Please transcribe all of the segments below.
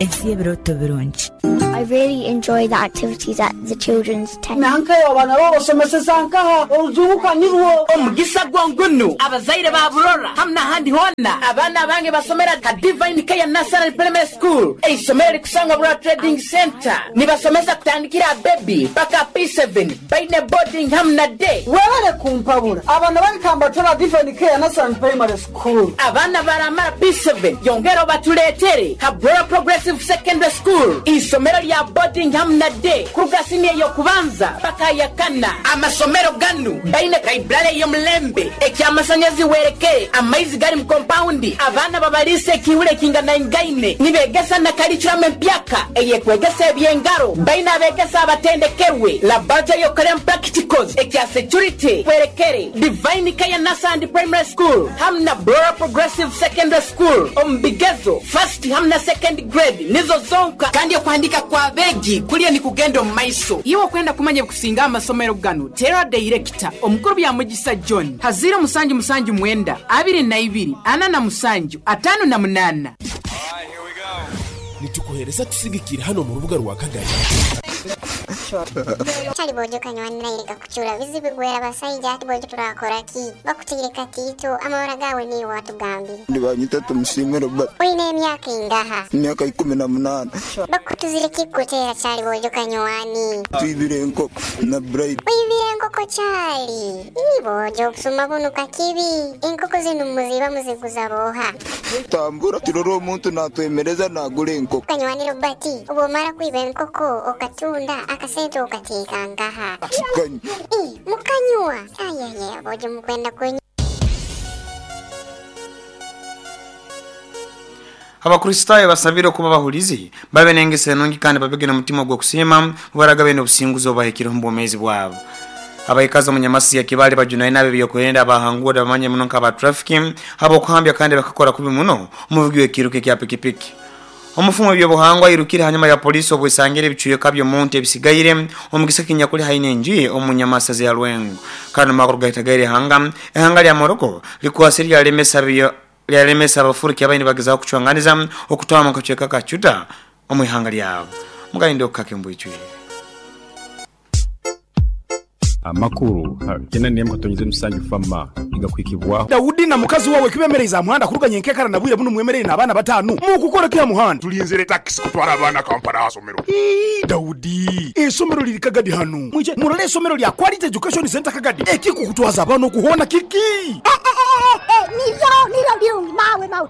Ensi y'ebirooto birungi. I really enjoy the activities at the children's tent. Nankayo abaana bo obasomeseza nkaha? Orujungu ka nirwo. Omugisa gwo ngunu abazaire ba Burora hamu n'ahandi hoona, abaana abange basomera ha Divine Care Nursery Primary School, eisomero erikusangwa Burora Trading Centre. Nibasomesa kutandikira aha baby paka aha P7, baine boarding hamu na day. Webale kumpabura, abaana bange kambatware Divine Care Nursery Primary School. Abaana baramara P7, yongera obatuleetere ha Burora Progressive Secondary School, eisomero rya boarding hamu na day kuruga siniya ey'okubanza paka aha yakana. Amasomero ganu baine library ey'omulembe, ekyamasanyarazi werekere, amaizi gari mu kompawundi, abaana babariisa ekiihuro ekinganaingaine, nibegesa na curriculum empyaka eyekwegesa eby'engaro, baine abegesa abatendekerwe, laboratory ey'okukoreramu practicals, ekya security werekere. Divine Care Nursery Primary School hamu na Burora Progressive Secondary School omu bigezo first hamu na second grade nizo zonka, kandi okuhandiika kw'abeegi kuriyo nikugenda omu maiso. Iwe okwenda kumanya ebikusinga aha masomero ganu, teera dayirekita omukuru Byamugisa John ha ziiro musanju musanju mwenda abiri na ibiri ana na musanju ataano na munaana. Nitukuheereza tusigikire hano omu rubuga rwa Kagadi. Kyali bojo kanywani naire gakucura bizibu gwera basaija ati bojo turakora ki? Bakutaire katiito amabara gawe niiwe watugambire. Nibanyeta Tumusiime Robert. Oine emyaka ingaha? Emyaka 18. Bakutuzire ki kukutera kyali bojo kanywani? Twibire enkoko na Bright. Oibire enkoko kyali? Ii bojo obusuma bunu kakibi. Enkoko zinu muziba muziguza boha? Tambura turora omuntu natwemereza nagura enkoko. Kanywani Robert, obwomara kwiba enkoko okatunda akasente okateeka nkaha? Kanywa. Ii, mukanywa? Ayaya, bojo mukwenda kunywa. Abakristaayo basabire okuba abahulizi, babe n'engeso enungi kandi babege n'omutima ogw'okusiima obu baragabe n'obusinguzi obubahikireho omu bwomeezi bwabo. Abaikazi omu Nyamasi ya Kibale bajunaine ab'ebyokwerinda abahanguura bamanye muno nk'aba traffic habw'okuhambya kandi bakakora kubi muno omuvugi w'ekiruka ekya pikipiki. Omufumu w'ebyobuhangwa airukire hanyuma ya polisi obwesangire ebicweka by'omuntu ebisigaire omu kisaka kinyakuli haihi n'enju ye omu Nyamasazi ya Lwengo. Kandi omu makuru gahitagaire ihanga, ihanga lya Morocco likwasire lyalemesa abafuruki abaine nibagezaho kucwanganiza okutwama omu kacweka ka Ceuta omu ihanga lyabo. Mugayinde okukaka embwicwire. Amakuru 8.7 fama igakwikibwaho. Daudi na mukazi wawe kibemereiza aha muhanda kuruga nyenkekara na bwire bunu mwemereire n'abaana batano mukukora ki aha muhanda? Tulinzire taxi kutwara abaana Kampala aha somero. Ii, Daudi, esomero liri Kagadi hanu. Mwije murole esomero lya Quality Education Center Kagadi. Ekikukutwaza abaana okuhona kiki? Niryo, niryo birungi, mawe, mawe.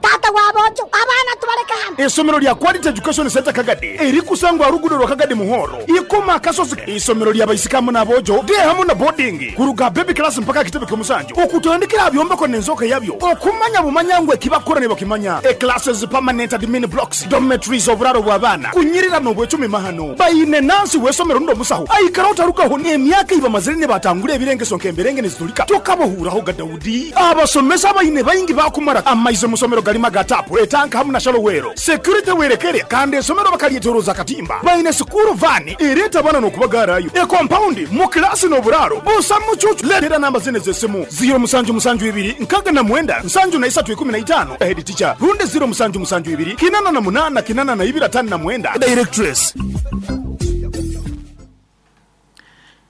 Tata wa bojo, abaana tubaleka hano. Esomero lya Quality Education Center Kagadi erikusangwa rugudo rwa Kagadi Muhoro. Ikoma kasozi isomero lya baisikamu na bojo de hamu na boarding kuruga baby class mpaka kitebe kyomusanju. Okutandikira byombeko n'enzoka yabyo. Okumanya bumanya ngwe kibakora ne bakimanya. E classes permanent admin blocks, dormitories oburaro bw'abaana. Kunyirira n'obwecumi mahano. Bayine nansi wesomero ndo musaho. Aikara utarukaho ni emyaka iba mazire ne batangure ebirengeso nkemberenge nizitulika. Tokabohuraho ga Daudi. Abasomesa bayine bayingi bakumara amaize musomero galima gatapu etanka hamu na shalowero. Security werekere kandi esomero bakalietoroza katimba. Bayine sukuru vani ireta bana nokubagarayo. E compound mu class no buraro. Busa muchuchu letera namba zine zesimu. Zero musanju musanju ibiri nkaga na mwenda nsanju na isatu ikumi na itano. Head teacher runde zero musanju musanju ibiri kinana na munana kinana na ibira tano na mwenda. Directress.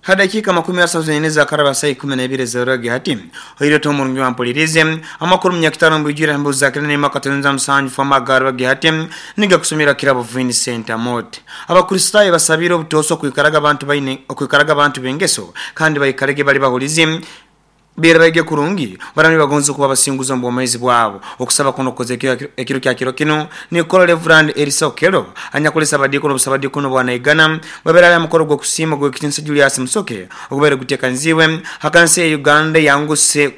Hadakika makumi asatu na ine za karaba saa ikumi na ibiri za rogi hati. Hoiro to murungi wa mpolirize. Amakuru mnyakitano mbujira mbuzi za kirene makatunza msanju fama garogi hati. Niga kusumira kirabo Vincent Amote. Abakristayo basabira obutoso kuikaraga abantu baine, kuikaraga abantu bengeso kandi bayikarege bali bahulize. Bira baige kurungi barani bagonze kuba basinguza mu bwomezi bwabo. Okusaba kuno koze ekiro kya kiro kino ni Kola Reverend Elisa Okelo anyakolesa abadikono busabadikono bwana Igana babera ya mukoro gwo kusima gwo kitinsa Julius Musoke okubere gutekanziwe hakanse ya Uganda yanguse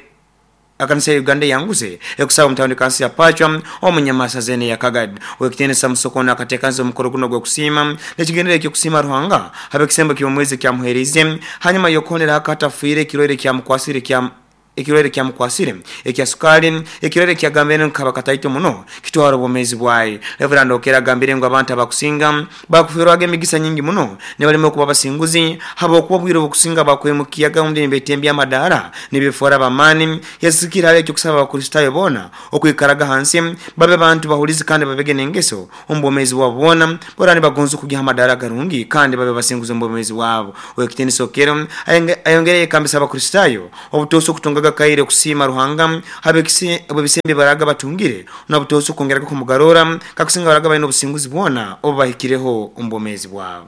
akanse ya Uganda yanguse ekusaba mutawundi kansi ya Pachwa omunyamasa zene ya Kagadi wekitenesa Musoko na katekanzo mukoro guno gwo kusima nekigendere kyo kusima Ruhanga habe kisembo kyo mwezi kya muherize hanyuma yokonera hakata fuire kirore kya mukwasire kya ekirwaire kyamukwasire ekya sukali ekirwaire kyagambire nkaba kataito muno kitwara obwomeezi bwaye. Reverend Okero agambire ngu abantu abakusinga bakuferwaga emigisa nyingi muno nibalema okuba abasinguzi habwokuba obwire obukusinga bakwemukiyaga ondi nibetembya amadaara nibefora b'amaani. Yasikire hali ekyokusaba Abakristaayo boona okwikaraga hansi babe bantu bahulizi kandi babege n'engeso omu bwomeezi bwabo bwona baraba nibagonza okugya ha madaara agarungi kandi babe basinguzi omu bwomeezi bwabo. Ow'ekitiinisa Okero ayongere yayekambisa Abakristaayo obutoosa okutungaga akaire okusiima Ruhanga habw'ebisembo ebibaraga batungire n'obutoosa okwongeraga kumugaruura kakusinga baraga baine obusinguzi bwona obu bahikireho omu bwomeezi bwabo.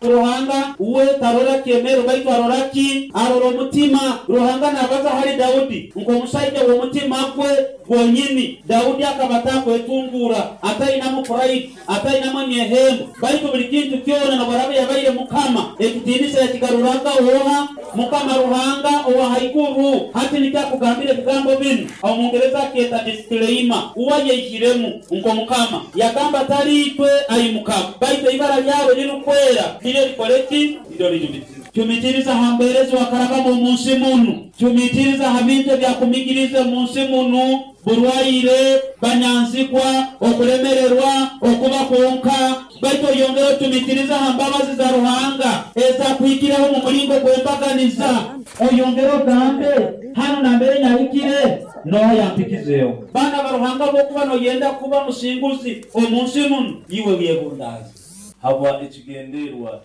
Ruhanga uwe tarora kyemero, baitu arora ki? Arora omutima. Ruhanga nabaza hali Daudi nk'omusaija w'omutima gwe gwonyini. Daudi akaba atakwetunguura, atainamu pride, atainamu emyehembo, baitu buli kintu kyona nobwaraaba yabaire mukama, ekitiinisa yakigaruraga oha? Mukama Ruhanga owa haiguru. Hati nikyo akugambira ebigambo binu. Omungereza akyeta disclaimer. Uwe ayeihiremu nk'omukama. Yagamba tali itwe ai Mukama, baitu eibara lyawe erirukwera niryo likole ki? Niryo lijumitirize. Cumitiriza ha mbeera ezi wakarabamu omu nsi munu. Cumitiriza ha bintu ebyakumigiriize omu nsi munu, burwaire, banyanzigwa, okulemererwa, okuba kwonka. Baitu oyongere ocumitirize ha mbabazi za Ruhanga ezakuhikireho omu mulingo gw'embaganiza. Oyongere ogambe, Hanu nambere nyahikire, noha yampikizeho? Baana ba Ruhanga, obwokuba noyenda kuba musinguzi omu nsi munu, iwe wyebundaaze. Habwa ekigenderwa.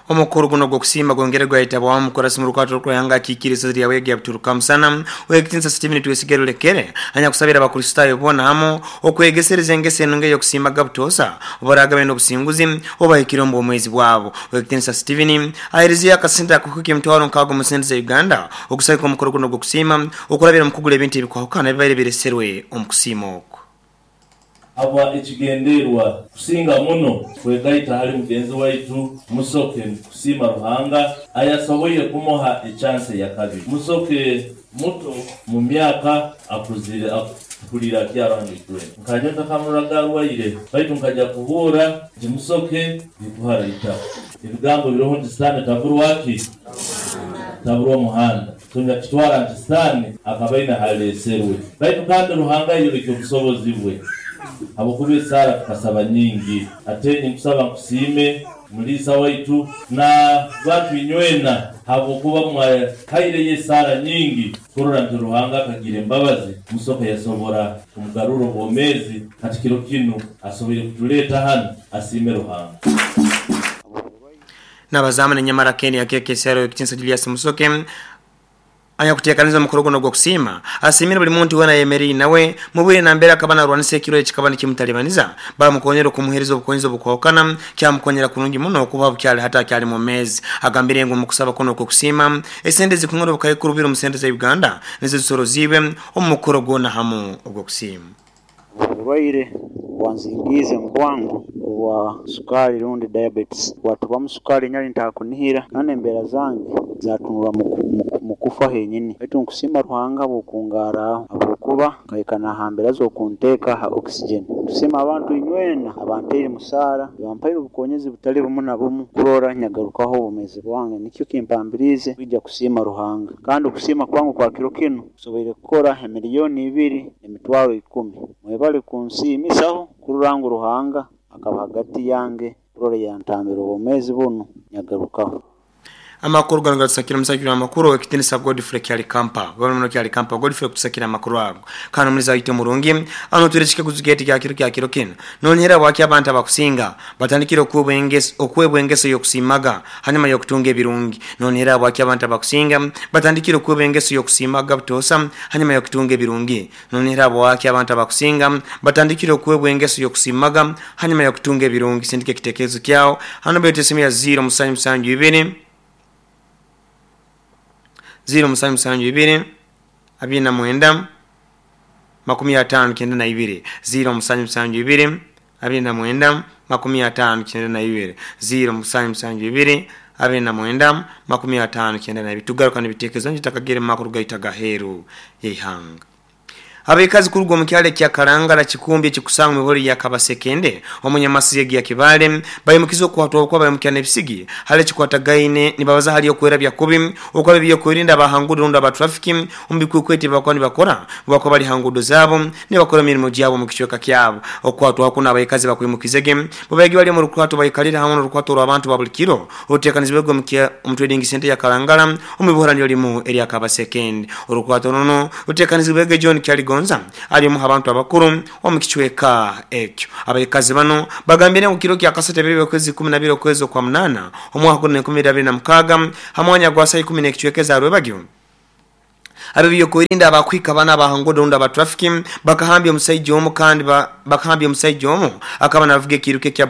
Omukoro guno ogw'okusiima gwongere gwayetabwaho omukurasi mu rukwato rw'okwehanga akikiire isaza lya Bwege Abdul Kamusana, Ow'ekitiinisa Stephen Twesige Rulekere, anyakusabire Abakristaayo boona hamu okwegesereza engeso enungi ey'okusiimaga butoosa obu baraaga baine obusinguzi obu bahikire omu bwomeezi bwabo. Ow'ekitiinisa Stephen aheerizeyo akasente ak'okuhika 60,000 omu sente za Uganda okusagika omukoro guno ogw'okusiima okurabira omu kugura ebintu ebikwahukana ebibaire bireserwe omu kusiima oku. Habwa ekigenderwa kusinga muno kwegaita hali mugenzi waitu Musoke kusiima Ruhanga ayasoboire kumuha echansi eyakabiri. Musoke muto mu myaka akuzire akuliire akyaro hanu itwena. Nkanyowe ntakamuroraga arwaire baitu nkaja kuhuura nti Musoke nikuhara itaka. Ebigambo biroho nti Sitaani taburwa ki? Taburwa omuhanda. Tunyakitwara nti Sitaani akaba aine haleeserwe. Baitu kandi Ruhanga ayoleka obusobozi bwe habwokuba esaara tukasaba nyingi. Ate ninkusaba nkusiime muliisa waitu na bantu inywena habwokuba mwahaireyo esaara nyingi kurora nti Ruhanga akagira embabazi Musoke yasobora kumugarurra obwomeezi hati kiro kinu asoboire kutuleeta hanu asiime Ruhanga. N'abazamu n'enyamara Ken Akekesero Ow'ekitiinisa Julius Musoke anyakuteekaniza omukoro gunu ogw'okusiima asiimire buli muntu weena ayemeriire nawe mu bwire nambere akaba narwanisa ekirwaire ekikaba nikimutalibaniza baamukonyera okumuheereza obukonyezi obukwahukana kyamukonyera kurungi muno kuba bukyali hati akyali mwomeezi. Agambire ngu omu kusaba kunu okw'okusiima esente zikung'ana obukaikuru bubiri omu sente za Uganda nizo zisoroziibwe omu mukoro gwona hamu ogw'okusiima. Oburwaire bwanzingiize mu bwangu obwa sukaali rundi diabetes bwatubamu sukaali nyali ntakunihira kandi embeera zange zatunura mu kufa henyini baitu nkusiima Ruhanga habw'okungarraho habwokuba nkahika na ha mbeera z'okunteeka ha oxygen. Nkusiima abantu inywena abantaire mu saara bampaire obukonyezi butali bumu na bumu kurora nyagarukaho obwomeezi bwange nikyo kimpambiriize kwija kusiima Ruhanga kandi okusiima kwange okwa kiro kinu nsoboire kukora emiliyoni ibiri n'emitwaro ikumi. Mwebale kunsiimisaho kurora ngu Ruhanga akaba hagati yange kurora yantambira obwomeezi bunu nyagarukaho. Amakuru ganu gatusakira omusakiri w'amakuru ow'ekitiinisa Godfrey Kyalikampa. Webale muno Kyalikampa Godfrey kutusakira amakuru ago. Kandi omulizi waitu omurungi, ano twire ekikaguzo kyaitu kya kiro kya kiro kinu. Nonihira habwaki abantu abakusinga batandikire okwebwa engeso y'okusiimaga hanyuma y'okutunga ebirungi? Nonihira habwaki abantu abakusinga batandikire okwebwa engeso y'okusiimaga butoosa hanyuma y'okutunga ebirungi? Nonihira habwaki abantu abakusinga batandikire okwebwa engeso y'okusiimaga hanyuma y'okutunga ebirungi? Sindika ekitekerezo kyawe ha namba yaitu y'esimu ya 0772 0772 29 59 0772 29 59 0772 29 59. Tugaruka n'ebitekerezo nje takagere mu makuru gaitu agaheeru y'eihanga. Abekazi kuruga omu kyalo ekya Karangara Kikumbi ekikusanga mu bihoro ya Kabasekende omunyamasiga ya Kibale bayimukiza okukwatwa okwa bayimukya n'ebisigi hali ekikwatagaine nibabaza hali okwera byakubi okwa ebyokwerinda abahangudo rundi aba traffic omu bikwekwete bakuba nibakora bakuba bali hangudo zaabo nibakora emirimo gyabo omu kicweka kyabo. Okukwatwa kuno abaikazi bakwimukizege babaigi bali omu rukwato baikalire hamwe n'orukwato rw'abantu ba buli kiro oruteekanizibwege omu trading center ya Karangara omu bihoro niryo limu erya Kabasekende. Orukwato runo ruteekanizibwege John Kyaligonza ali omu h'abantu abakuru omu kicweka ekyo. Abaikazi banu bagambire ngu kiro kya kasatu ebiro by'okwezi 12 okwezi okwa munaana omwaka gunu 2026 ha mwanya gwa saaha ikumi n'ekicweka eza rwebagyo, ab'ebyokwerinda abakuhika bana aba ha nguudo rundi aba trafiki bakahambya omusaija omu kandi bakahambya omusaija omu akaba navuga ekiiruka ekya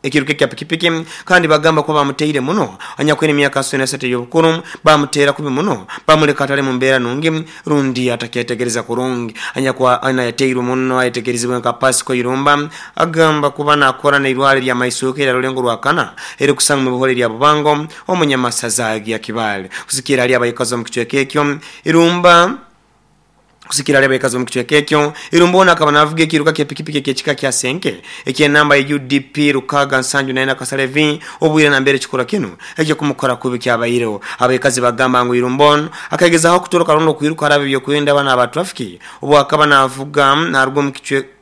ekiiruka ekya pikipiki kandi bagamba kuba bamuteire muno anyakwine emyaka 63 ey'obukuru bamuteera kubi muno bamuleka atali mu mbeera nungi rundi atakyetegereza kurungi. Anyakwa yateirwe muno ayetegerizibwe nka Pasco Irumba agamba kuba nakora n'eirwaro erya Maisuuka erya Rulengo Rwakana erikusangwa mu bihoro erya Bubango omunyamasaza gya Kibaale. Kusikira hali abaikazi omu kicweka ekyo, Irumba Kusikira hali abaikazi b'omu kicweka ekyo, Irumba onu akaba navuga ekiiruka ky'epikipiki eky'ekika kya Senke eky'enamba ya UDP 674 Kasale V obwire nambere ekikorwa kinu eky'okumukora kubi kyabaireho. Abaikazi bagamba ngu Irumba onu akagezaho kutoroka rundi okwiruka hali ab'ebyokwerinda banu aba trafiki obu akaba navuga naruga omu kicweka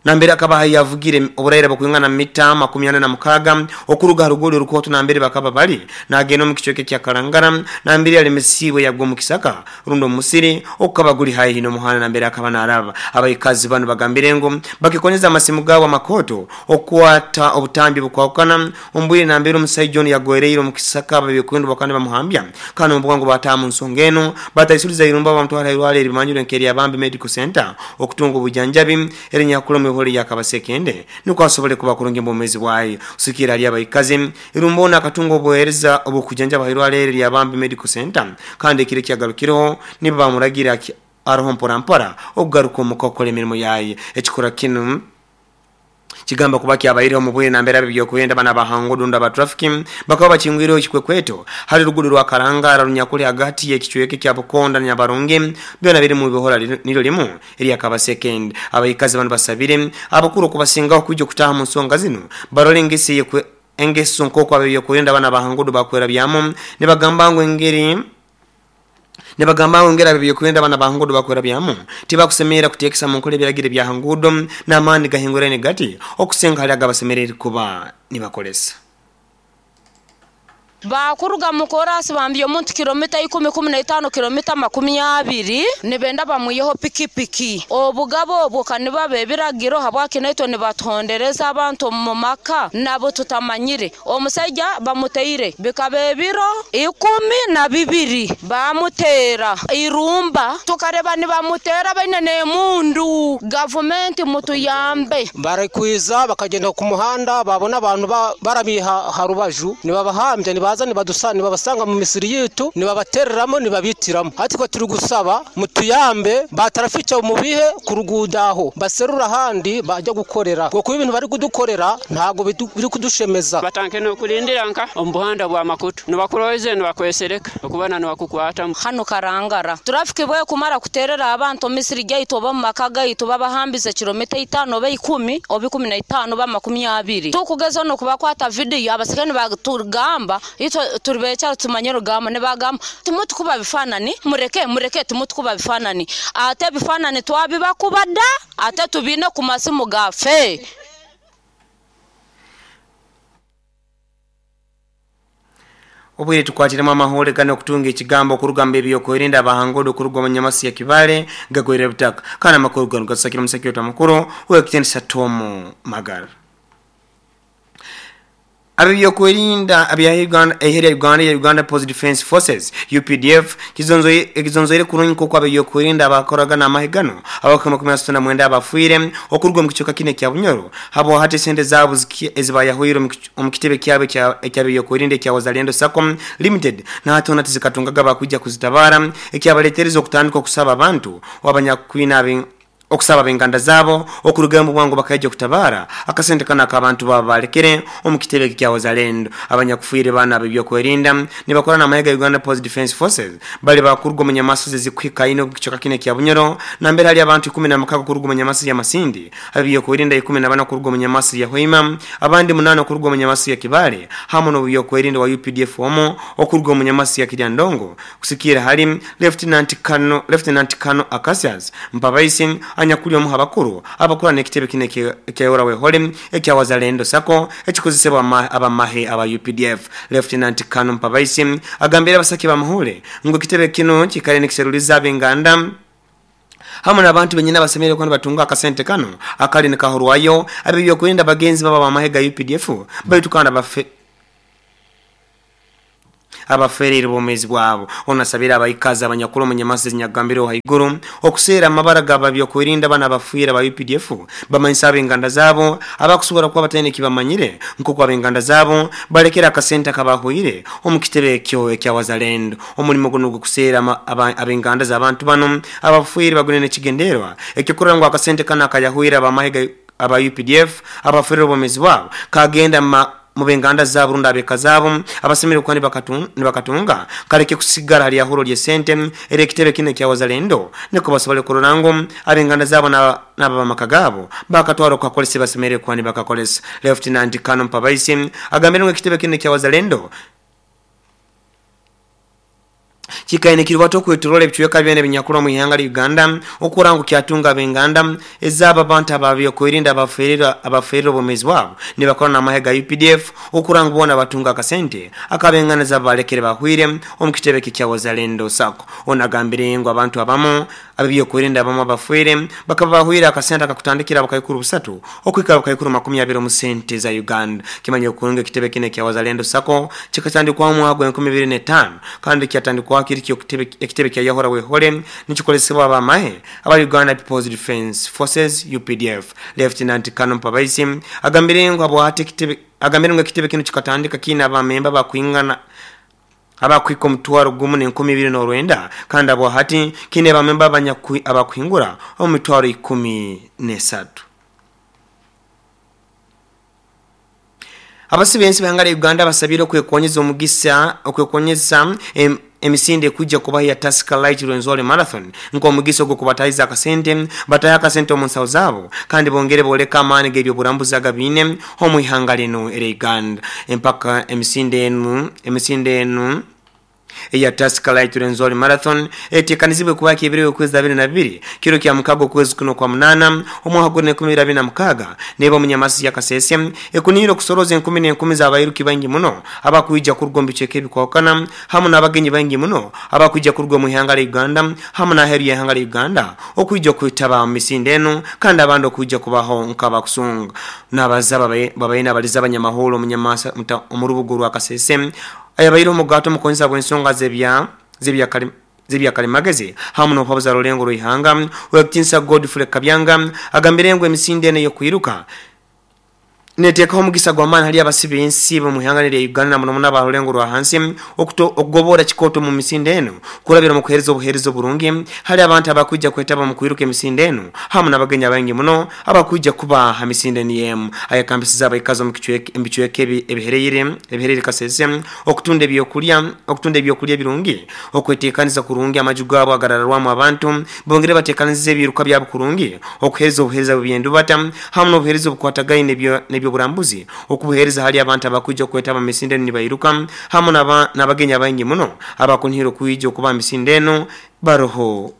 Nambere akaba yavugire oburaira bukwingana mita 46 okuruga ha rugoli orukooto nambere bakaba bali, nagenda omu kicweka ekya Kalangala nambere yalemesiibwe yagwa omu kisaka rundi omu musiri ogukaba guli haihi n'omuhanda nambere akaba naraba. Abaikazi banu bagambire ngu bakekonyeza amasimu gaabo amakooto okukwata obutambi obukwahukana omu bwire nambere omusaija onu yagwereire omu kisaka ab'ebyokwerinda bakaba nibamuhambya kandi omu bwangu bataaha mu nsonga enu bataisuliza irumba bamutwara ha irwaro erimanyirwe nk'erya Bambi Medical Centre okutunga obujanjabi erinyakuli omu ihoro lya Kabasekende nukwo asobole kuba kurungi omu bwomeezi bwaye. Kusigikirra hali abaikazi, irumba onu akatunga obuheereza obw'okujanjaba ha irwaro eri erya Bambi Medical Centre kandi ekiro ekiyagarukireho nibwo bamuragiire aroho mpora mpora okugaruka omuka kukora emirimo yaye. Ekikorwa kinu kigamba kuba kyabaireho omu bwire nambere ab'ebyokwerinda banu aba ha nguudo rundi aba trafiki bakaba bakingwireho ekikwekweto hali ruguudo rwa Karangara runyakuli hagati y'ekicweka ekya Bukonda na Nyabarungi byona biri mu bihora niryo limu erya Kabasekende. Abaikazi banu basabire abakuru okubasingaho kwija okutaaha mu nsonga zinu barole engeso eye engeso nk'oku ab'ebyokwerinda banu aba ha nguudo bakwerabyamu nibagamba ngu engeri Nibagamba ngu engeri ab'ebyokwerinda banu aba ha nguudo bakwerabyamu tibakusemerra kuteekesa mu nkora ebiragiro ebya ha nguudo n'amaani gahinguraine gati okusinga hali agabasemereire kuba nibakolesa. Baakuruga mu koraasi bambya omuntu kilomita ikumi, kumi na itaano, kilomita 20, nibenda bamwiheho pikipiki. Obugabe obwo ka nibaba ebiragiro, habwaki naitwe nibatuhondereza abantu omu maka nabu tutamanyire. Omusaija bamuteire bikaba ebiro 12 baamuteera eirumba, tukareba nibamuteera baine n'emundu. Gavumenti mutuyambe. Barikwiza bakagyenda ku muhanda baabona abantu barami aha rubaju nibabahambya nibaza nibabasanga mu misiri yaitu nibabatereramu nibabaitiramu. Hati itwe turigusaba mutuyambe ba tarafiiki mubihe ku ruguudo aho baserure ahandi bagye kukorera ahabw'okuba ebintu barikudukorera ntabwo birikudushemeza. Batandike n'okurindira nka omu buhanda bwa makutu nibakuroize nibakwesereka okubona nibakukwatamu. Hanu Karangara turafiki bwekumara kuterera abantu omu misiri gyaitu oba omu maka gaitu babahambize kilomita itaano oba ikumi oba 15 oba 20. Tukugezaho n'okubakwata vidiyo abaserikare nibatugamba itwe turi bekyaro tumanye orugamba nibagamba timutukuba bifanani mureke mureke timutukuba bifanani ate ebifanani twabibakuba da ate tubiine ku masimu gafe. Obwire tukwatiremu amahuure ganu okutunga ekigambo okuruga mu b'ebyokwerinda abahangudo okuruga omu Nyamasi ya Kibale gagwire butaka. Kandi amakuru ganu gatusakire omusaki waitu omukuru ow'ekitiinisa Tom Magara. Ab'ebyokwerinda abya Uganda eihe lya Uganda erya Uganda People's Defence Forces, UPDF, kizonzoire kurungi nk'oku ab'ebyokwerinda abakoraga n'amahe ganu abakukira 39 abafiire okuruga omu kicweka kinu ekya Bunyoro habwahati esente zaabo ezibayahwire omu kitebe kyabo eky'ab'ebyokwerinda ekya Wazalendo Sacco Limited nahati hoona tizikatungaga abakwija kuzitabaara ekyabaletereza okutandika okusaba abantu abanyakwine Okusaba ab'enganda zaabo okurugayo omu bwangu bakaija okutabaara akasente kanu ak'abantu baabo baalekere omu kitebe eki kya Wazalendo. Abanyakufiire banu ab'ebyokwerinda nibakora n'amahe ga Uganda People's Defence Forces bali baakuruga omu nyamasozi ezikuhikaine omu kicweka kinu ekya Bunyoro nambere hali abantu 16 kuruga omu nyamasozi ya Masindi, ab'ebyokwerinda 14 kuruga omu nyamasozi ya Hoima, abandi munaana okuruga omu nyamasozi ya Kibaale hamu n'ow'ebyokwerinda owa updf omu okuruga omu nyamasozi ya Kiryandongo. Kusikiira hali Lieutenant Colonel Lieutenant Colonel Acacius Mpabaisi anyakuli omu habakuru abakura n'ekitebe kinu ekya Ora Wehole ekya Wazalendo Sacco ekikozesebwa abamahe aba updf. Lieutenant Colonel Mpabaisi agambire abasaki b'amahule ngu ekitebe kinu kikaire nikiseruliza ab'enganda hamu n'abantu benyini abasemeriire kuba nibatunga akasente kanu akali nikahurwayo ab'ebyokwerinda bagenzi babo ab'amahe ga updf baitu kandi abafe Abafeereire obwomeezi bwabo. Onu asabire abaikazi abanyakuli omu nyamaso ezinyakugambirweho haiguru okuseera amabara g'ababyokwerinda banu abafiire aba updf bamanyise ab'enganda zaabo abakusobora kuba bataine ekibamanyire nk'oku ab'enganda zaabo balekere akasente akabaahwaire omu kitebe ekyo ekya Wazalendo. Omulimo gunu ogw'okuseera ab'enganda z'abantu banu abafiire bagwine n'ekigendererwa eky'okurora ngu akasente kanu akayahwire ab'amahe aba updf abafiirire obwomeezi bwabo kagenda Mu b'enganda zaabo rundi ab'eka zaabo abasemeriire kuba nibakatunga, kaleke kusigara ha lyahuro ly'esente ery'ekitebe kinu ekya Wazalendo nukwo basobole kurora ngu ab'enganda zaabo n'ab'amaka gaabo baakatwara okukakozesa ebi basemeriire kuba nibakakozesa. Lieutenant Colonel Mpabaisi agambire ngu ekitebe kinu ekya Wazalendo Kikaire nikirubata okwetoroora ebicweka byona ebinyakurwa omu ihanga lya Uganda okurora ngu kyatunga ab'enganda ezaabo abantu ab'ebyokwerinda abaferire obwomeezi bwabo nibakora n'amahe ga updf okurora ngu boona batunga akasente ak'ab'enganda zaabo balekere bahwire omu kitebe eki ekya Wazalendo Sacco. Ono agambire ngu abantu abamu Ab'ebyokwerinda abamu abafwire bakaba bahwire akasente akakutandikira obukaikuru busatu okuhika obukaikuru 20 omu sente za Uganda. Kimanyire kurungi ekitebe kinu ekya Wazalendo Sacco kikatandikwaho omwaka gwa 2005 kandi kyatandikwaho kiri kyo ekitebe kya Yahura Wehole nikikozesebwa ab'amahe aba Uganda People's Defence Forces, updf. Lieutenant Colonel Mpabaisi agambire ngu habwahati ekitebe agambire ngu ekitebe kinu kikatandika kiine abamemba abakwingana abakuhika omutwaro gumu n'enkumi ibiri n'orwenda, kandi abo hati kiine bamemba abakuhingura omu mitwaro 13. Abasi b'ensi b'ihanga lya Uganda basabire okwekonyeza omugisa okwekonyeza emisinde ekwija kubaho eya Tusker Lite Rwenzori Marathon nk'omugisa ogw'okubatahiza akasente batahe akasente omu nsaho zaabo kandi bongere boleke amaani g'eby'oburambuzi agabaine omu ihanga linu erya Uganda. Empaka emisinde enu emisinde enu eya Tusker Lite Rwenzori Marathon etekanizibwe kuba kyebiro y'okwezi 22 kiro kya mukaga okwezi kuno okwa munana omwaka guri n'enkumi ibiri abiri na mukaga neba omu Nyamasi ya Kasese ekuniire okusoroza enkumi n'enkumi z'abairuki baingi muno abakwija kuruga omu bicweka ebikwahukana hamu n'abagenyi baingi muno abakwija kuruga omu ihanga lya Uganda hamu n'aheeru y'ihanga lya Uganda okwija okwetaba omu misinde enu kandi abandi okwija kubaho nk'abakusunga n'abaza babaire nabaliza abanyamahurre omu Nyamasa omu rubuga orwa Kasese ayabaireho omugaati omukonyesa bw'ensonga z'ebyakalimagezi hamu n'okuhabuza rulengo rw'ihanga Owekitiinisa Godfrey Kabyanga agambire ngu emisinde enu ey'okwiruka Neteekaho omugisa gw'amaani hali abasi b'ensi b'omu ihanga lya Uganda na muno muno aba rulengo rwa hansi okugoboora kikooto omu misinde enu kurabira omu kuheereza obuheereza oburungi hali abantu abakwija kwetaba omu kwiruka emisinde enu hamu n'abagenyi abaingi muno abakwija kuba ha misinde niyo emu. Ayekambisize abaikazi omu bicweka ebihereire Kasese okutunda ebyokulya ebirungi, okweteekaniza kurungi amaju gaabo agarararwamu abantu bongere bateekanize ebiiruka byabo kurungi, okuheereza obuheereza bw'eby'endubata hamu n'obuheereza obukwatagaine n'eby'oburambuzi, okubuheereza hali abantu abakwija okwetaba mu misinde enu nibairuka hamu n'abagenyi abaingi muno abakunihira okwija okuba mu misinde enu baroho.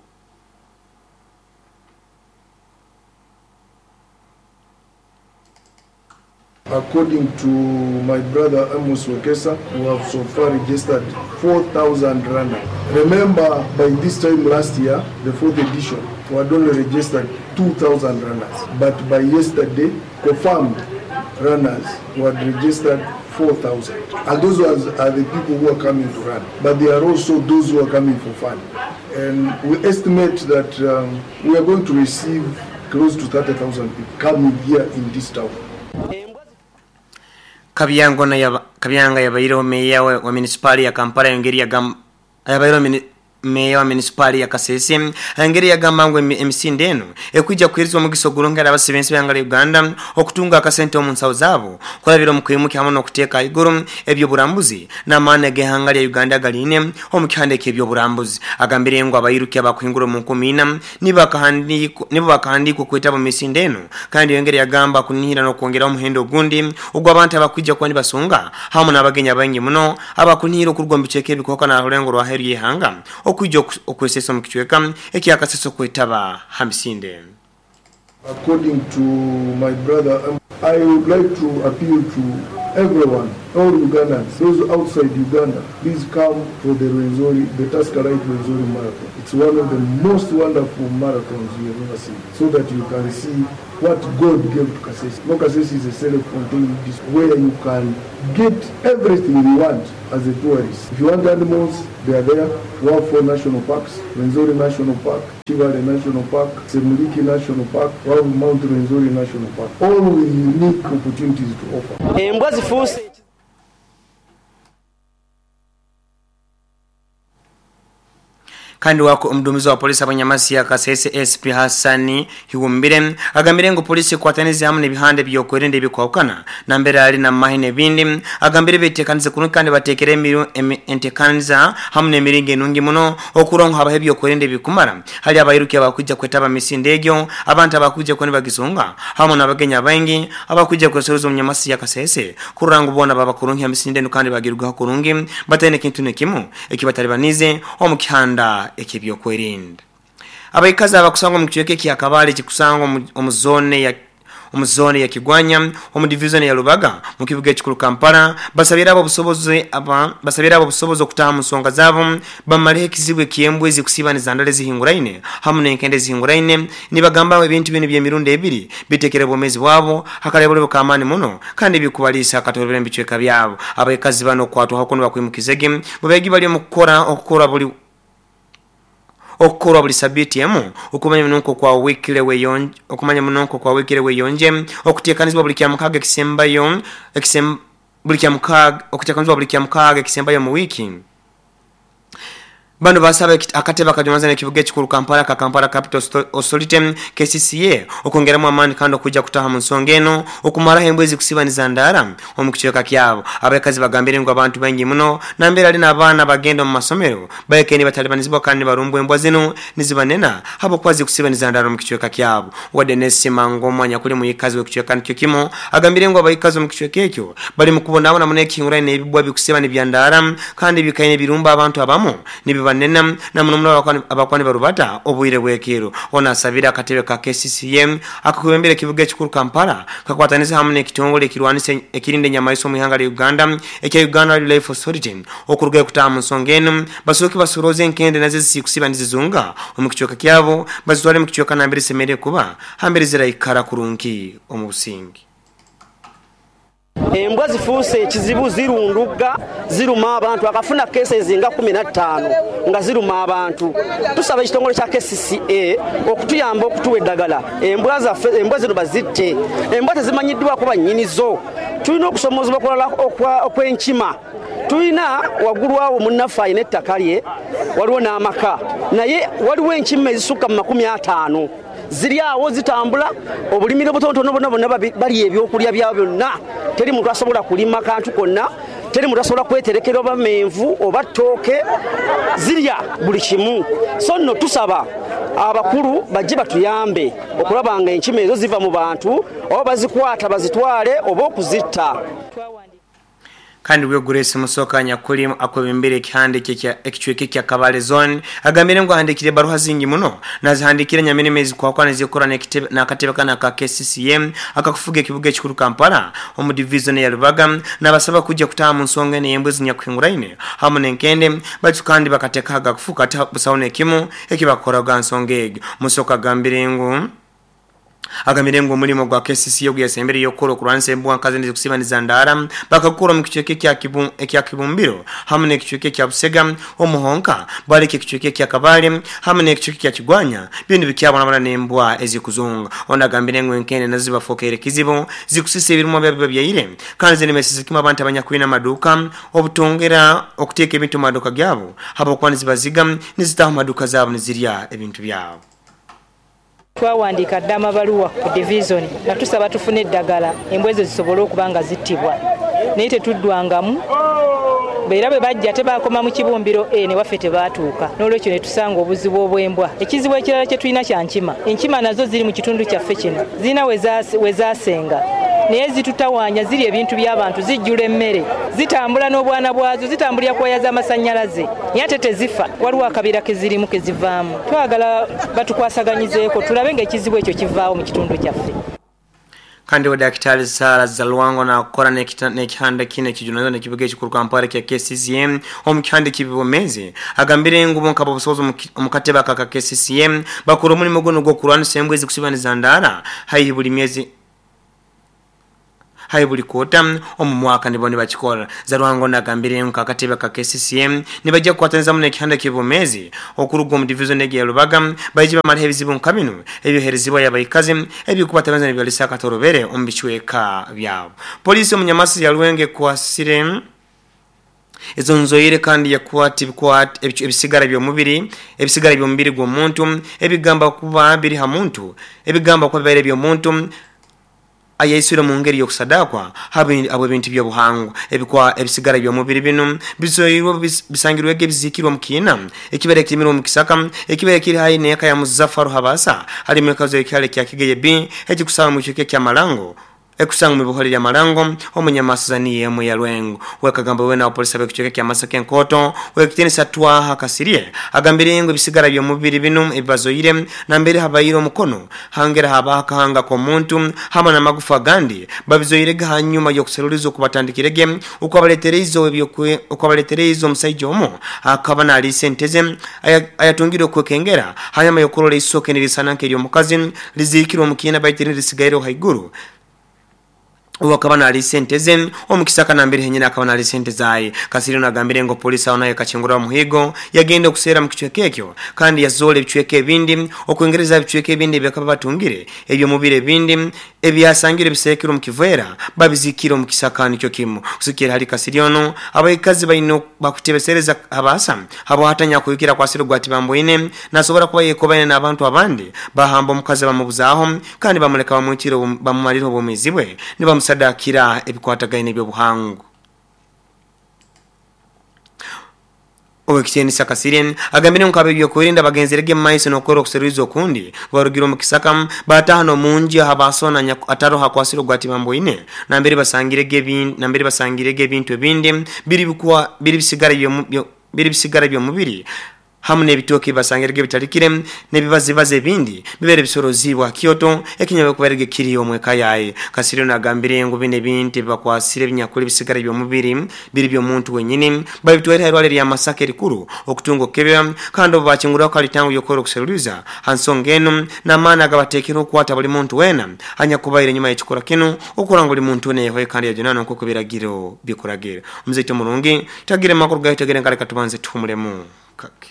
According to my brother Amos Wekesa, we have so far registered 4,000 runners. Remember, by this time last year, the fourth edition, we had only registered 2,000 runners. But by yesterday, confirmed runners we had registered 4,000. And those ones are the people who are coming to run. But there are also those who are coming for fun. And we estimate that we are going to receive close to 30,000 people coming here in this town. Kabyanga yabaireho meeya wa munisipaali ya Kampala yongeri yagamba Meya wa municipali ya Kasese engeri yagamba ngu emisinde eno ekwija kuhirizwa omugisa ogurungi abasibensi b'ihanga lya Uganda okutunga akasente omu nsawo zaabo kurabira omu kwimuka hamwe n'okuteeka ahaiguru eby'oburambuzi n'amaani ag'ihanga lya Uganda galine omu kihanda eky'ebyoburambuzi. Agambire ngu abayiruki abakuhingura omu 4000 nibo bakahandiikwa okwetaba omu misinde eno, kandi engeri yagamba kunihira n'okwongeraho omuhendo ogundi ogw'abantu abakwija kuba nibasunga hamwe n'abagenyi abaingi muno abakunihira okuruga omu bicweka ebikuhoka n'arulengo rwa aheeru y'ihanga okuija okwesesa omu kicweka ekyakasesa okwetaba ha misinde. According to my brother, I would like to appeal to everyone, all Ugandans, those outside Uganda, please come for the Rwenzori, the Tusker Lite Rwenzori Marathon. It's one of the most wonderful marathons you have ever seen, so that you can see what God gave to Kasese. No, Kasese is a self-contained district where you can get everything you want as a tourist. If you want animals, they are there. We have 4 national parks: Rwenzori National Park, Kibale National Park, Semuliki National Park, we have Mount Rwenzori National Park. All with unique opportunities to offer. Embwa zifuuse. Kandi wako omudumizi wa polisi abanyamasi ya Kasese SP Hassani Hiwumbire agambire ngu polisi kwatanize hamwe n'ebihande by'okwerinda ebikwahukana nambere ali na mahi n'ebindi. Agambire betekanize kurungi kandi batekere entekaniza hamwe n'emiringo enungi muno okurongo habaho ebyokwerinda ebikumara hali abayiruki abakujja kwetaba misinde egyo, abantu abakujja kuba nibagisunga hamwe n'abagenyi abaingi abakujja kwesoroza omunyamasi ya Kasese kurora ngu boona baba kurungi ha misinde enu kandi bagirugaho kurungi bataine kintu nekimu ekibatalibanize omu kihanda ekibyokwerinda. Abaikazi abakusangwa mu kicweka ekya Kabale kikusangwa omu zone ya Kigwanya omu division ya Lubaga mu kibuga ekikuru Kampala basabira abo obusobozi okutaha mu nsonga zaabo bamaleho ekizibu eky'embwezi kusibaniza ndala ezihinguraine hamwe n'enkende ezihinguraine. Nibagamba ebintu bino by'emirundi ebiri bitekere obwomeezi bwabo hakalebole kamaani muno kandi bikubaliisa akatolobera mu bicweka byabo. Abaikazi bano okwatwaho kuno bakwimukizege bubegi bali omu kukora okukora buli okukorwa buli sabiti emu okumanya munonko kwa wikile weyonje okumanya munonko kwa wikile weyonje okutekanizibwa buli kya mukaga ekisembayo buli kya mukaga okutekanizibwa buli kya mukaga ekisembayo mu wiki. Bano basaba akatebe akajumaza n'ekibuga ekikuru Kampala ka Kampala Capital Authority KCCA okwongeramu amaani kandi okujja kutaha mu nsonga eno okumaraho embwezi kusibaniza ndara omu kicweka kyabo. Abakazi bagambire ngu abantu baingi muno nambere ali n'abaana bagenda omu masomero bayekeni batalibanizibwa kandi barumbwa embwa zino nizibanena habwokuba kusibaniza ndara omu kicweka kyabo. Wadde Nesima ngomwanya kuli muyikazi w'ekicweka nikyo kimu agambire ngu abayikazi omu kicweka ekyo bali mu kubonaabona muno ekihinguraine n'ebibwa bikusibana ebyandara kandi bikaine birumba abantu abamu nibiba banena na muno abakwani barubata obwire bwekiro. Ona asabira akatebe ka KCCM akakwembera ekibuga ekikuru Kampala kakwataniza hamwe n'ekitongole ekirwanisa ekirinde enyamaiso mu ihanga lya Uganda ekya Uganda Wildlife Authority okuruga kutaha mu nsonga eno basooke basuroze enkende nazo zisikusiba nizizunga omu kicweka kyabo bazitwale mu kicweka nambere semere kuba hambere ziraikara kurungi omu busingi. Embwa zifuuse ekizibu zirunduga ziruma abantu akafuna cases nga 15 nga ziruma abantu. Tusaba ekitongole kya KCCA okutuyamba okutuwa eddagala embwa zaffe embwa zino bazitte. Embwa tezimanyiddwa kuba nnyinizo. Tulina okusomozebwa okulala okw'enkima. Tulina waggulu awo munnaffe alina ettaka lye waliwo n'amaka naye waliwo enkima ezisukka mu 50 ziri awo zitambula obulimiro butonotono bonna bonna balya ebyokulya byabwe byonna. Teri muntu asobola kulima kantu konna, teri muntu asobola kweterekera oba menvu oba ttooke, zirya buli kimu. So nno tusaba abakulu bajje batuyambe okulaba nga enkima ezo ziva mu bantu oba bazikwata bazitwale oba okuzitta. Kandi we Grace Musoka nyakuli akwebembere ekihande ekicweke kya Kabale Zone agambire ngu ahandikire baruha zingi muno nazihandikire nyamene kwa kwa nezikora n'akatebe kana ka KCCM akakufuga ekibuga ekikuru Kampala omu division ya Lubaga nabasaba kujja kutaha mu nsonga n'embwezi nyakuhinguraine hamwe n'enkende batu kandi bakateka agakufuka busawo n'ekimu ekibakora ga nsonga egyo. Musoka agambire ngu Agambire ngu omulimo gwa KCCA oguyasembere y'okukola okurwanisa embwa nkazi nezikusiba ndaara bakakukora omu kicweka ekya Kibumbiro hamwe n'ekicweka ekya Busega omuhonka baleka ekicweka ekya Kabale hamwe n'ekicweka ekya Kigwanya bintu bikyabonabona n'embwa ezikuzunga. Ono agambire ngu enkende nazo zibafokeire kizibu zikusisa ebirimwa byabo byaire kandi zinemesesa kimu abantu abanyakwina amaduuka obutongera okuteeka ebintu mu maduuka gyabo habwokuba nizibaziga nizitaha mu maduuka zaabo nizirya ebintu byabo. Twawandiika dda amabaluwa ku divizoni nga tusaba tufune eddagala embwa ezo zisobole okuba nga zittibwa, naye tetuddwangamu. Era bwe bajja tebaakoma mu Kibumbiro A ne waffe tebaatuuka, n'olwekyo ne tusanga obuzibu obw'embwa. Ekizibu ekirala kye tulina kya nkima. Enkima nazo ziri mu kitundu kyaffe kino, zirina we zaasenga, naye zitutawaanya, zirya ebintu by'abantu, zijjula emmere, zitambula n'obwana bwazo, zitambulira ku waya z'amasannyalaze, naye ate tezifa. Waliwo akabira ke zirimu ke zivaamu. Twagala batukwasaganyizeeko tulabe ng'ekizibu ekyo kivaawo mu kitundu kyaffe. Kandi wa Daktari Sara Zalwango na kukora n'ekihanda kino ekijunanizibwa n'ekibuga ekikuru Kampala kya KCCM omu kihanda ekibibomezi agambire ngu bonka obusobozi omu katebe aka KCCM bakora omulimo guno gw'okurwanisa embwa ezikusibaniza ndaara haihi buli myezi hai buli kota omu mwaka nibo nibakikora. Zalwango nagambire ngu akatebe ka KCCM nibajja kukwatanizamu n'ekihanda ky'ebomezi okuruga omu division egi ya Rubaga baije bamaleho ebizibu nka bino ebyoherezibwa y'abaikazi ebikubatabaniza nibyolesa akatorobere omu bicweka byabo. Polisi omu Nyamasi ya Rwenge kwasire ezo nzoire kandi yakwata ebisigara by'omubiri ebisigara by'omubiri gw'omuntu ebigamba kuba biri ha muntu ebigamba kuba bibaire by'omuntu ayaisire mu ngeri y'okusadakwa abo ebintu by'obuhangwa ebikwa ebisigara by'omubiri bino bizoirwe bisangirwege bizikirwa mu kiina ekibere kirimira mu kisaka ekibere kiri hayi n'eka ya Muzaffaru Habasa hari mu kazo ekyale kya Kigeye B ekikusaba mu kike kya Malango ekusanga mu buholi ya Malango omunyamasazani yemu ya Lwengo. Wekagamba we na polisi abekucheka kya Masaka enkoto wekitenisa twaha kasirye agambire ngo ebisigara by'omubiri bino ebibazoire na mbere habayiro omukono hangera haba kahanga ko muntu hamwe na magufa gandi babizoire hanyuma yokuserulizo kubatandikirege ukabaletereizo ebyokwe ukabaletereizo omusajja omo akaba nali senteze ayatungire okwekengera hanyuma yokurora isoke nirisananke eryo lizikirwa mukina baitire lisigaire haiguru wakaba nali sente ze omukisaka nambere henyina akaba nali sente zaye. Kasiri nagambire ngo polisi aho naye kachingura muhigo yagenda okusera mu kichweke ekyo kandi yazole ebichweke ebindi okwengereza ebichweke ebindi byakaba batungire ebyo mubire ebindi ebyasangire bisekero mu kivera babizikira mu kisaka nicyo kimu kusikira hali Kasiriono abayikazi bayino bakutebesereza abasa abo hatanya kuyukira kwa siro gwati bamboine nasobora kuba yekobane n'abantu abandi bahamba omukazi bamubuzaho kandi bamuleka bamwitiro bamumalira obumizibwe nibamusadakira ebikwatagaine by'obuhangu. Owekitenisa Kasirien agambire nkabe byokurinda bagenzerege maiso nokoro okuseruliza okundi barugira mu kisaka batahano munji habasona ataro hakwasiro gwati bamboine nambere basangirege ebintu ebindi biri bikuwa biri bisigara by'omubiri hamwe n'ebitoke basangirege bitalikire n'ebibazibaze ebindi bibere bisorozibwa Kyoto ekinyabe kuberege kiri omweka yaye. Kasiryo nagambire ngo bine bintu bakwasire binyakuli bisigara by'omubiri biri by'omuntu wenyine babitwere hairwale lya Masaka erikuru okutungo kebya kandi obakingura kalitangu yokoro okuseruliza hansonga eno n'amaana agabatekera okwata buli muntu wena anyakubaire nyuma y'ekikora kino okuranga buli muntu wena yehoye kandi yajunana nk'uko biragiro bikuragira. Omuzeito mulungi tagire makuru gayo tagire nkaleka tubanze tuhumulemu kake.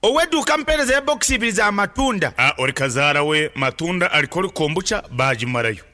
Oweduka mpereza ya box ibiri za matunda. Ori kazara we matunda alikoli kombucha bajimarayo.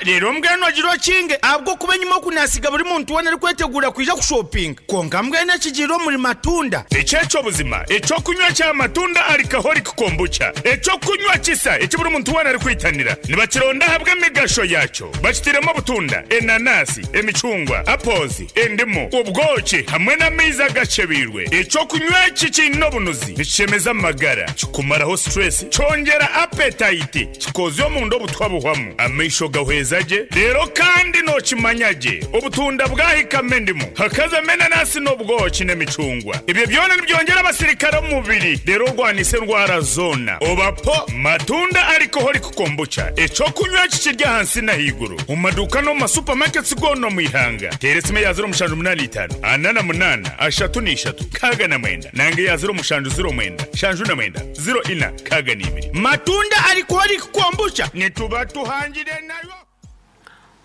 Rero mbweno agiro kinge abwo kuba nyuma kunasiga buri muntu wena ari kwetegura kwija kushopping. Konka mbweno kigiro muri matunda. Echecho buzima, echo kunywa cha matunda alcoholic kombucha. Echo kunywa kisa eki buri muntu wena ari kwitanira. Nibakironda habwe migasho yacho. Bakitiremo butunda, enanasi, emicungwa, apples, endimu, ubwoki hamwe n'amaizi agacebirwe. Echo kunywa iki kino bunuzi. Nichemeza magara, kikumaraho stress, chongera appetite, kikozyo mu ndo butwa buhwamu. Amaisho Nigahweza gye reero kandi nookimanya gye obutunda bwahikamu endimu hakazamu enanasi n'obwoki n'emicungwa. Ebyo byona nibyongyera abasirikare omu mubiri reero orwanise endwara zoona. Oba po Matunda Alcoholic Kombucha eky'okunywa kikiri ahansi n'ahaiguru omu maduuka n'omu ma supermarkets goona omu ihanga. Teera esimu eya 0785 48 33 69 nanga eya 0709 79 04 62. Matunda Alcoholic Kombucha nituba tuhangire nayo.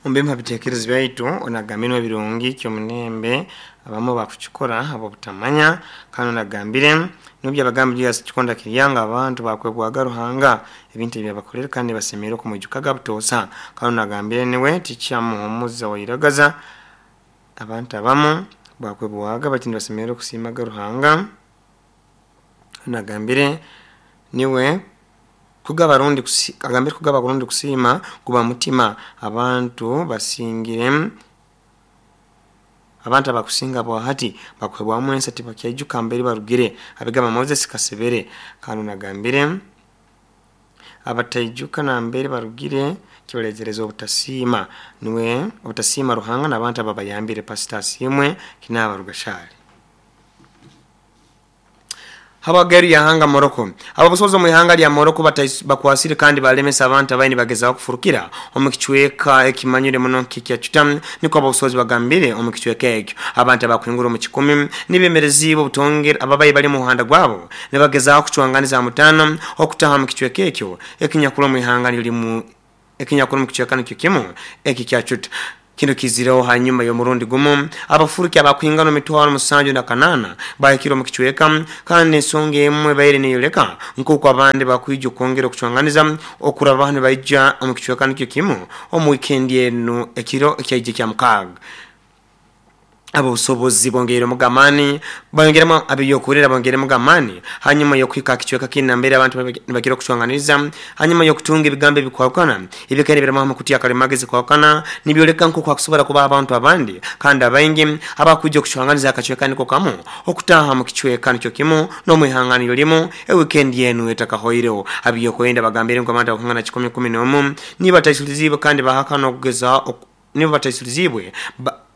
Omu bimu ha bitekerezo byaitu onagambire ebirungi ky'omunembe abamu bakukikora habw'obutamanya kandi onagambire n'obu Julius Kikonda Kiryanga abantu bakwebwaga Ruhanga ebintu ebyabakolere kandi basemeriire okumwijukaga butoosa kandi onagambire niwe tikyamuhumuza wairagaza abantu abamu bakwebwaga bati nibasemeriire okusiimaga Ruhanga. Onagambire niwe kugaba rundi agambire kugaba rundi kusiima guba mutima abantu basingire abantu abakusinga bwahati bakuhebwamu ensa tibakyaijuka mbere barugire abigamba Moses Kasebere. Kandi onagambire abataijuka nambere barugire kibaretereza obutasiima niwe obutasiima Ruhanga n'abantu ababayambire Pastor Asiimwe Kinaba Rugashari. Habageri ya hanga Morocco. Ababusozo mu ihanga lya Morocco bakwasire kandi balemesa abantu abaini bagezaho kufurukira omu kichweka ekimanyire muno kikya chutam niko ababusozi bagambire omu kichweka ekyo. Abantu abakwingura omu kikumi nibemerezi obutongera ababayi bali mu muhanda gwabo nibagezaho kucwanganiza mutano okutaha mu kichweka ekyo ekinyakula mu ihanga lirimu ekinyakula mu kichweka nikyo kimu ekikya chuta. Kino kizireo hanyuma y'omurundi gumu abafuruki abakwingana mitwaro 78 bahikira mu kichweka kandi ensonga emwe baire neyoleka nkuko abandi bakwija kwongera okucwanganiza okuraba hano baija omu kichweka nikyo kimu omu weekend eno ekiro ekyaije kya mukaaga. Ababusobozi bongere mugamani bongeremo abiyokurera bongere mugamani hanyuma yokwika kichweka kina mbere abantu nibakira kucwanganiza hanyuma yokutunga ebigambo ebikwakana ebikene biramaho makuti akalemagezi kwakana nibyoleka nko kwakusobora kuba abantu abandi kandi abaingi abakujja kucwanganiza akachweka niko kamu okutaha mu kichweka nikyo kimu no mwihangano limu e weekend yenu etakahoireho. Abiyokwenda bagambire ngo abantu bakungana 111 niba taisuliziwe kandi bahakana okugeza niba bataisuliziwe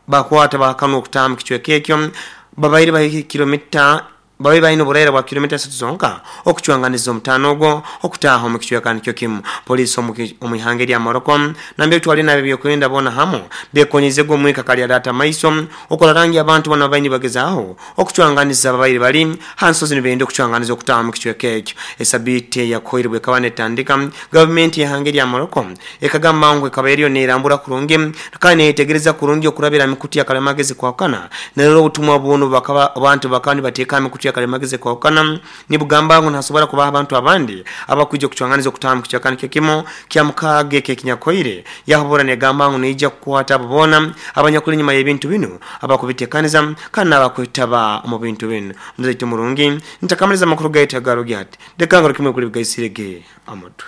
bakwata bahakana okutaha kichweka ekyo babaire bahiki kilomita babaire bahino burera bwa kilomita 3 zonka okucwanganiza omutano ogwo okutaha mu kichweka nikyo kimu. Polisi omu ihanga lya Morocco nambe twali nabe byokwenda bona hamu bekonyeze go mwika kali data maiso okola rangi abantu bona baini bagezaho okucwanganiza babaire bali hansozi nibende okucwanganiza okutaha mu kichweka ekyo. Esabite yakoirwe kawane tandika government ya ihanga lya Morocco ekagamba ngo ekabairiyo nerambura kurungi kandi netegereza kurungi okurabira mikuti ya kalemagezi kwakana nerero obutumwa buno bakaba abantu bakani bateka mikuti ya kalemagezi kwakana nibugamba ngo ntasobora kubaha abantu abandi abakujja kucwanganiza okutaha mu kichweka nikyo kimu kya mukage kekinyakoire yahobora negamba ngo nija kukwata abona abanyakuli nyuma y'ebintu bino abakubitekaniza kandi abakwitaba mu bintu bino. Muzaitu murungi ntakamaliza makuru gaita garugi ati dekangaro kimwe kuli bigaisirege amutwe.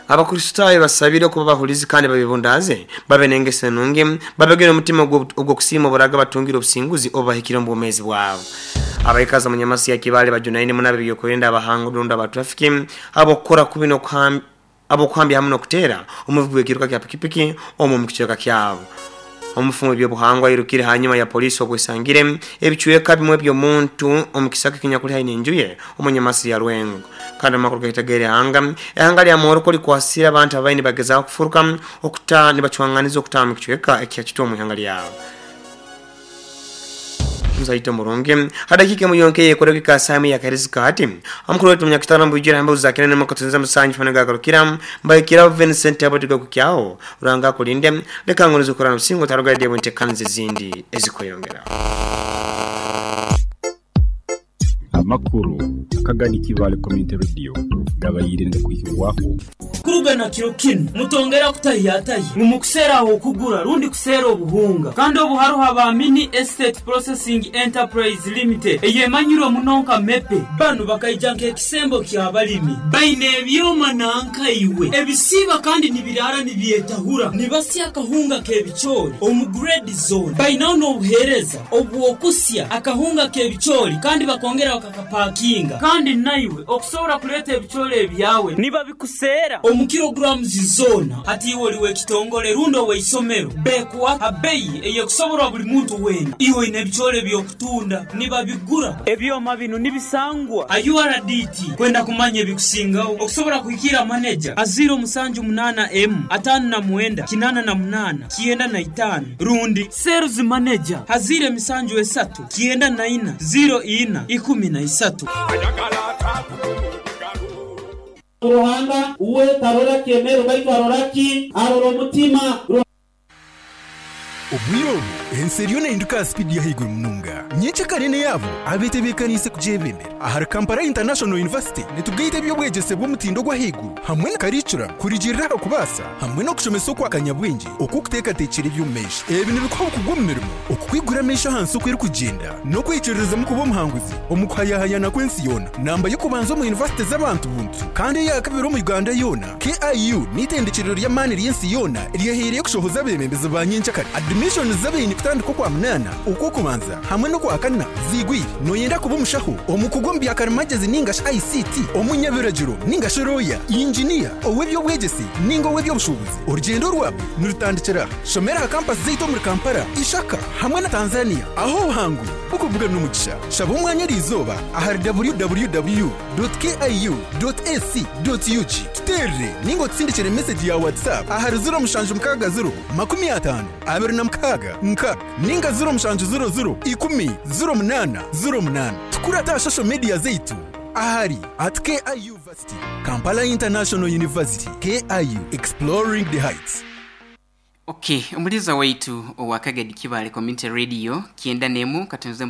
Abakristayo basabire kuba bahulizi kandi babibundaze babe nengese nungi babegere omutima ogwo kusiima oburaga batungire obusinguzi obahikire mu bwomezi bwabo. Abaikaza munyamasi ya Kibale bajunaine munabe byokwenda abahanga ndonda ba traffic abokora kubino abokuhambya hamwe nokutera omuvugi w'ekiruka kya pikipiki omu mukichweka kyabo. Omufumo by'obuhangwa yirukire hanyuma ya polisi obwesangire ebichweka bimwe by'omuntu omukisaka kinyakuli haine enjuye omunyamasi ya Rwengo. Kandi amakuru gaitagere hanga ehanga lya Morocco likwasira abantu abaini bagezaho kufuruka okuta nibacwanganiza okutaha mu kichweka ekyakito mu ihanga lyabo. Mzaito murungi hadakika muyonke yekoreka kasami ya karizika hati amukuru wetu munyakitano mbujira hambe uzakina ne makatunza musanju fanaga garukira mbaikira Vincent abotiga kukyao uranga kulinde leka ngonizo korana musingo taruga de bonte kanze zindi ezikoyongera. Amakuru akagani Kibale Community Radio gabayirinde kuhirwaho. Kuruga na kiro kinu mutongera kutahiyatahi ngu mukuseera aho okugura rundi kuseera obuhunga. Kandi obu haruho aba Mini Estate Processing Enterprise Limited eyemanyirwe muno nka MEPE. Banu bakaija nk'ekisembo ky'abalimi. Baine ebyoma nanka iwe ebisiiba kandi nibiraara nibyetahura, nibasya akahunga k'ebicoori omu grade zoona. Bainaho n'obuheereza obw'okusya akahunga k'ebicoori kandi bakongera bakakapakinga. Kandi naiwe okusobora kuleeta ebicoori ebyawe nibabikuseera omu kilograms zoona. Hati iwe oli w'ekitongole rundi ow'eisomero, beekuha ha beyi ey'ekusoborwa buli muntu weena. Iwe oine ebicoori eby'okutunda, nibabigura. Ebyoma binu nibisangwa ha URDT. Kwenda kumanya ebikusingaho, okusobora kuhikiira maneja ha 078 emu 59 88 95 rundi sales manager ha 073 94 04 13. Ruhanga uwe tarora kyemero, baitu arora ki? Arora omutima. Obwire obu, ensi eriyo nehinduka aha sipiidi y'ahaiguru munonga. Nyencakare n'eyaabo abetebeekaniise kugyebembera. Ahari Kampala International University, nitugaita eby'obwegyese bw'omutindo ogw'ahaiguru hamwe na karicuramu kurugiirira aha kubaasa hamwe n'okushomesa okwa kanyabwengye okw'okuteekateekyera eby'omumaisho. Ebi nibikuha obukugu omu mirimo, okukwigura amaisho aha nsi oku erikugyenda, n'okwikiririzamu kuba omuhanguzi omu kuhayahayana kw'ensi yoona. Namba y'okubanza omu yunivasite z'abantu buntu kandi eya kabiri omu Uganda yoona, KIU n'eitendekyerero ry'amaani ry'ensi yoona eryehaireyo kushohoza abeebembezi ba nyenkyakare. Adimishoni z'abaine kutandika Okwamunaana, Okw'okubanza hamwe n'Okwakana ziigwire. Nooyenda kuba omushaho, omukugu omu bya karimagyezi nainga shi ICT, omunyabiragiro nainga shi looya, inginiya, ow'eby'obwegyese nainga ow'eby'obushuubuzi? Orugyendo rwawe nirutandikira aha. Shomera aha kampasi zaitu omuri Kampala, Ishaka hamwe na Tanzania ahu obuhangu burikubuga n'omugisha. Shaba omwanya eriizooba ahari www. Kiu.ac.ug. Tuteerere nainga otusindikire mesegi ya WhatsApp ahari 0760 50 26 6 nainga 0700 10 08 08. Tukurate aha shosho mediya zaitu ahari at KIU Varsity, Kampala International University, KIU, Exploring the Heights. Ok, omuliza waitu owa Kagadi Kibaale Community Radio, kyenda n'emu katonze.